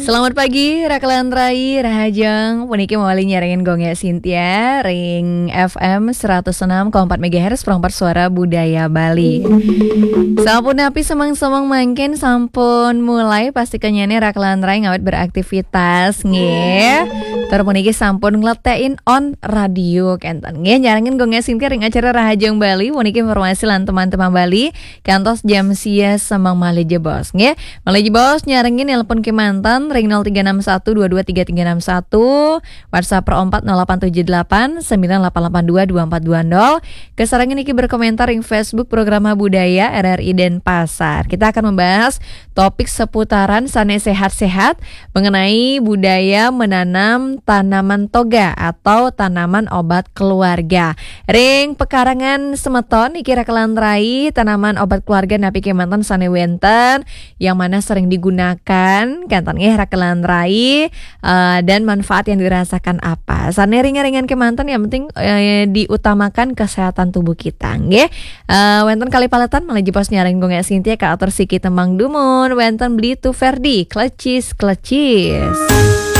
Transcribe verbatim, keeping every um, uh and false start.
Selamat pagi, Rakelan Rai, Rahajeng. Puniki mawali nyarengin Gong Sintia, ring F M seratus enam koma empat megahertz, Perangkat Suara Budaya Bali. Sampun napi semeng-semeng mangkin sampun mulai, pasti kenyane Rakelan Rai ngawit beraktivitas, nggih. Tur puniki sampun ngletekin on radio, kenten. Nggih, nyarengin Gong Sintia ring acara Rahajeng Bali, puniki informasi lan teman-teman Bali, kantos jam sia semeng malih jebos, nggih. Malih jebos nyarengin nelpon kemanten ring nol tiga enam satu dua dua tiga tiga enam satu, WhatsApp Pro empat nol delapan tujuh delapan sembilan delapan delapan dua dua empat dua nol. Kasarengin niki berkomentar ring Facebook Programa Budaya R R I Denpasar. Kita akan membahas topik seputaran sane sehat-sehat mengenai budaya menanam tanaman toga atau tanaman obat keluarga. Ring pekarangan semeton niki Rakelan Rai, tanaman obat keluarga napi kemanten sane wenten, yang mana sering digunakan, kenten nggih Rakelan Rai, eh, dan manfaat yang dirasakan apa. Sane ringan-ringan kemanten, yang penting, eh, diutamakan kesehatan tubuh kita, nggih. Eh, wenten kalih paletan, malih jebos nyarengin Gong Sintia, kaatur siki tembang dumun, wenten Beli Tu Ferdi, Klecis, Klecis.